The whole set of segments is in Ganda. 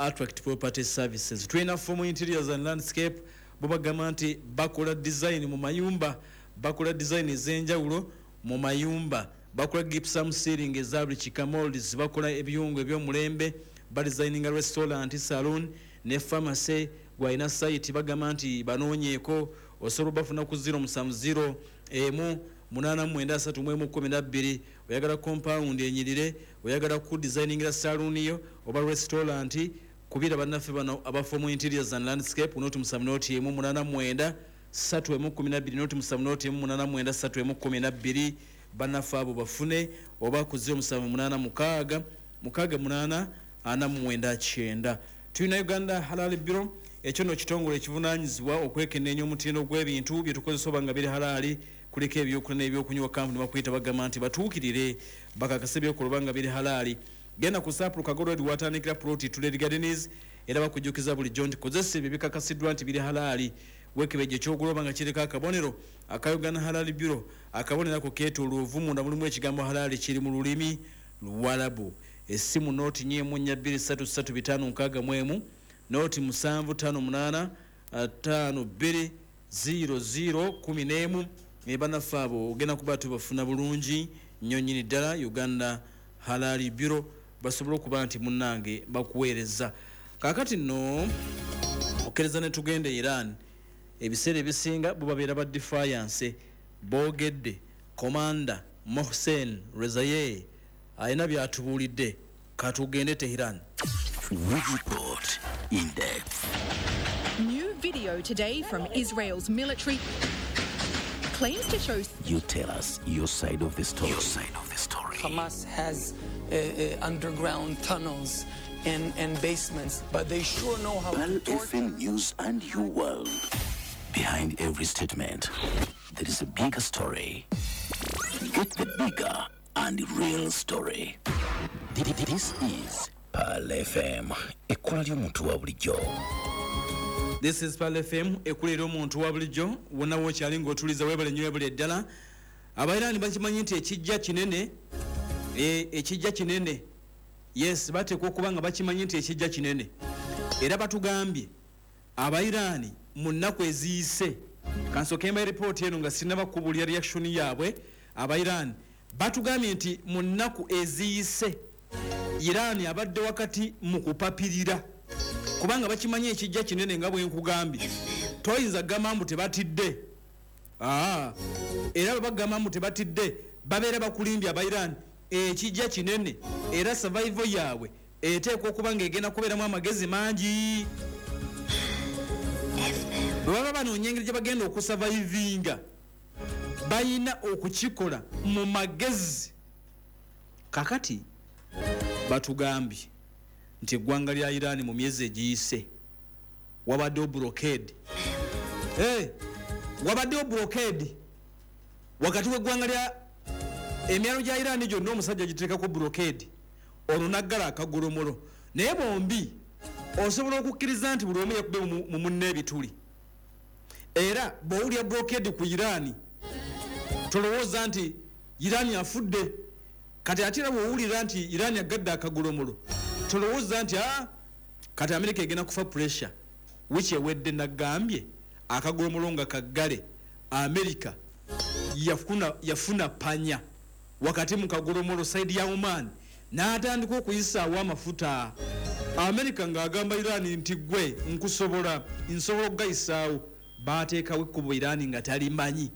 Attract Property Services. Tulina Form Interiors and Landscape, bo bagamba nti bakola design mu mayumba, bakola design ez'enjawulo mu mayumba, bakola gypsum ceiling eza buli kika, molds, bakola ebiyungu eby'omulembe, badesigninga restaurant, saloon ne pharmacy. Gwalina site, bagamba nti banoonyeeko, osobola obafuna ku 070 1 893 12. Oyagala compound enyirire, oyagala ku designingira saloon yo oba restaurant, kubira bannaffe bano aba Form Interiors and Landscape, 07 0 1 89 3 12, 07 0 1 89 3 12. Bannaffe abo bafune, oba ku 0786 68 49. Tulina Uganda Halal Bureau. Ekyo nno kitongole ekivunanyizibwa okwekenneenya omutindo gw'ebintu byetukozesa oba nga biri halaali. Kuliko ebyokulya n'ebyokunywa. Kampuni bakuyita, bagamba nti batuukirire bakakase ebyokola oba nga biri halaali. Genda ku Sapulu Kago Road, watandikira plot Tuled Gardens. Era bakujjukiza bulijjo nti kozesa ebyo bikakasiddwa nti biri halaali. Wekebejje ekyogula oba nga kiriko akabonero aka Uganda Halal Bureau. Akabonero ako keetooloovu, munda mulimu ekigambo halaali, kiri mu lulimi Luwalabu. Essimu 044 233 561, 0758 52 00 11. Bannaffe abo ogenda kuba tubafuna bulungi nnyo nnyini ddala. Uganda Halal Bureau basobole okuba nti munnange bakuweereza. Kaakati nno okkiriza ne tugenda e Iran. Ebiseera ebisinga bo babeera ba defiance. Boogedde, Commander Mohsen Rezaye alina byatubuulidde. Katugende Teheran. We report in depth. New video today from Israel's military claims to show You tell us your side of the story. Your side of the story. Hamas has underground tunnels and basements, but they sure know how Pearl to torture. FM News and Your World. Behind every statement, there is a bigger story. Get the bigger and real story. This is Pearl FM. Ekkula ly'omuntu wa bulijjo. This is Pearl FM, ekulera omuntu wa bulijjo. Wonna wokyali ng'otuliza, weebale nnyo, weebale ddala. Abairani bakimanyi nti ekijja kinene, ekijja kinene. Yes, bateekwa okuba nga bakimanyi nti ekijja kinene. Era batugambye Abairani mu nnaku eziyise, kansooke mba ripooti eno nga sinaba kubulya reaction yaabwe. Abairani batugambye nti mu nnaku eziyise Iran abadde wakati mu kupapirira, kubanga bakimanyi ekijja kinene. Nga bwe nkugambye, toyinza kugamba mbu tebatidde. Aa, era bwe bagamba mbu tebatidde, babeera bakulimbye. Abairani ekijja kinene, era survival yaabwe eteekwa okuba ng'egenda kubeeramu amagezi mangi. Bwe baba banoonya engeri gye bagenda okusurvivinga, bayina okukikola mu magezi. Kakati batugambye nti eggwanga lya Iran mu myezi egiyise wabaddewo blockade. Hey, wabaddewo blockade wakati w'eggwanga lya emyalo gya Iran gyonna. Omusajja giteekako blockade, olwo naggala akagolomolo. Naye bombi osobola okukkiriza nti buli omu yakube mu munne ebituli. Era bw'owulira blockade ku Iran, tolowooza nti Iran afudde. Kati ate era bw'owulira nti Iran agadde akagolomolo, tolowooza nti a kati Amerika egenda kufa pressure. Wiki ewedde nagambye akagolomolo nga kaggale, Amerika yafuna panya wakati mu kagolomolo, side ya Oman, n'atandika okuyisaawo amafuta. Amerika ng'agamba Iran nti gwe nkusobola, nsobola okugayisaawo. Bateekawo ekkubo, Iran nga talimanyi,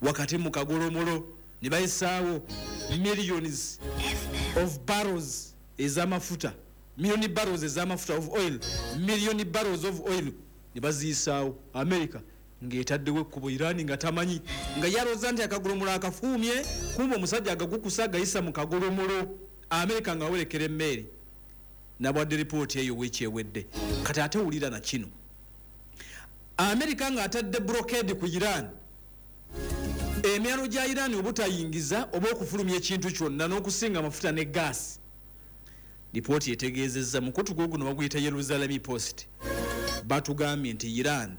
wakati mu kagolomolo ne bayisaawo millions of barrels ez'amafuta, million barrels ez'amafuta of oil, million barrels of oil ne baziyisaawo. America ng'etaddewo ekkubo, Iran nga tamanyi, nga yalowooza nti akagolomolo akafuumye, kumba omusajja agagukusa agayisa mu kagolomolo. America nga awerekera emmeeri. Nabwadde ripooti eyo wiiki ewedde. Kati ate wulira na kino: Amerika ng'atadde blockade ku Iran, emyalo gya Iran obutayingiza oba okufulumya ekintu kyonna n'okusinga amafuta ne gaasi. Lipooti etegeezezza mukutu gwo guno baguyita Yerusalem Post, batugambye nti Iran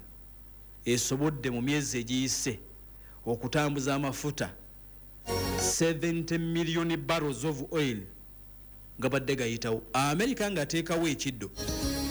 esobodde mu myezi egiyise okutambuza amafuta 70 million barrels of oil nga badde gayitawo. Amerika ng'ateekawo ekiddo.